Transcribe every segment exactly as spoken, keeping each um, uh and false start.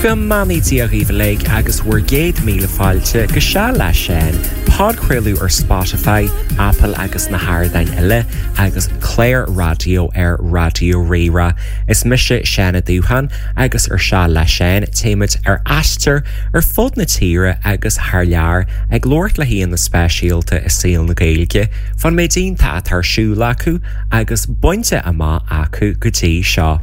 Go mbeannaí Dia dhaoibh uilig agus bhur gcéad míle fáilte go Seal le Seán, podchraoladh ar Spotify, Apple agus na hardáin eile agus cláir raidió ar Raidió Rí-Rá. Is mise Seán Ó Dúcháin agus ar Seal le Seán téimid ar aistear ar fud na tíre agus thar lear ag labhairt le haíonna speisialta i saol na Gaeilge, fán méid iontach atá ar siúl acu agus bainte amach acu go dtí seo.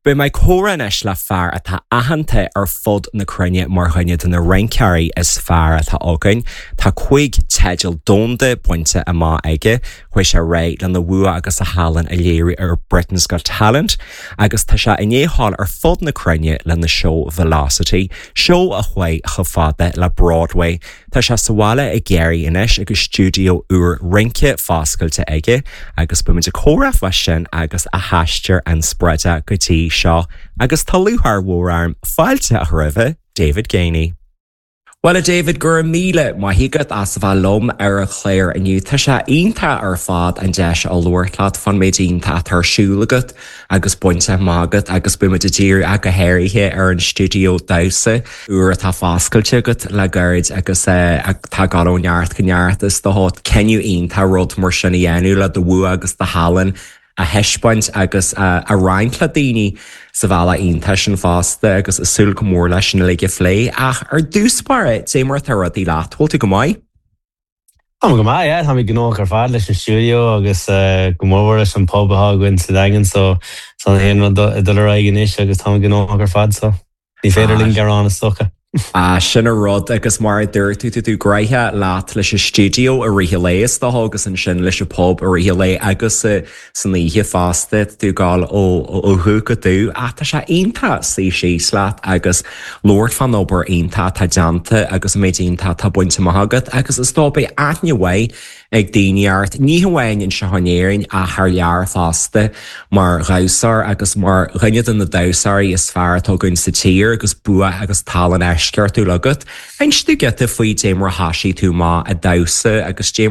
Beidh mé ag comhrá anois le fear atá aitheanta ar fud na cruinne mar dhuine de na rinceoirí is fearr atá againn. Tá cúig teideal domhanda bainte amach aige, chuaigh sé réidh lena bhua agus a thallann a léiriú ar Britain's Got Talent, agus tá sé i ndiaidh dul ar fud na cruinne lena seó Velocity, seó a chuaigh chomh fada le Broadway. Tá sé sa bhaile i gCiarraí anois agus stiúideo úr rince foscailte aige, agus beimid ag comhrá faoi sin agus a aistear inspioráideach go dtí seo, agus tá lúcháir mhór orm fáilte a chur roimhe David Geaney. Well a David go raibh míle maith agat as a bheith liom ar an chlár inniu Tá sé iontach ar fad an deis a labhairt leat fán méid iontach atá ar siúl agat agus bainte amach agat agus beimid ag díriú ach go háirithe ar an stiúideo damhsa úr atá foscailte agat le gairid agus atá ag dul ó neart go neart is dócha cinneadh iontach rud mar sin a dhéanamh le do bhua agus do thallann a thaispeáint agus a roinnt le daoine sa bhealach iontach sin fosta agus ag súil go mór leis sin uilig a phlé ach ar dtús báire cad é mar atá rudaí leat bhfuil tú go maith? Tá go maith tá gnóthach ar fad leis an stiúideo agus go mór leis an pub atá againn sa Daingean so san aon rud ag dul ar aghaidh anois agus tá gnóthach ar fad so ní féidir linn gearán is dócha. Ah, sin an rud agus mar a dúirt tú tú gnoitheach leat leis an stiúideo i rith an lae is dócha agus ansin leis an pub i rith an lae agus san oíche fosta tú ag dul ó ó dhubh go dubh ach tá sé iontach suí síos leat agus labhairt fán obair iontach atá déanta agus an méid iontach atá bainte amach agat agus is dóigh beidh aithne mhaith ag daoine ort ní hamháin anseo in Éirinn ach thar lear fosta mar dhamhsóir agus mar dhuine de na damhsóirí is fearr atá againn sa tír agus bua agus tallann eisceachtúil agat. Inis dúinn giota faoi cad é mar a thosaigh tú amach ag damhsa agus cad é mar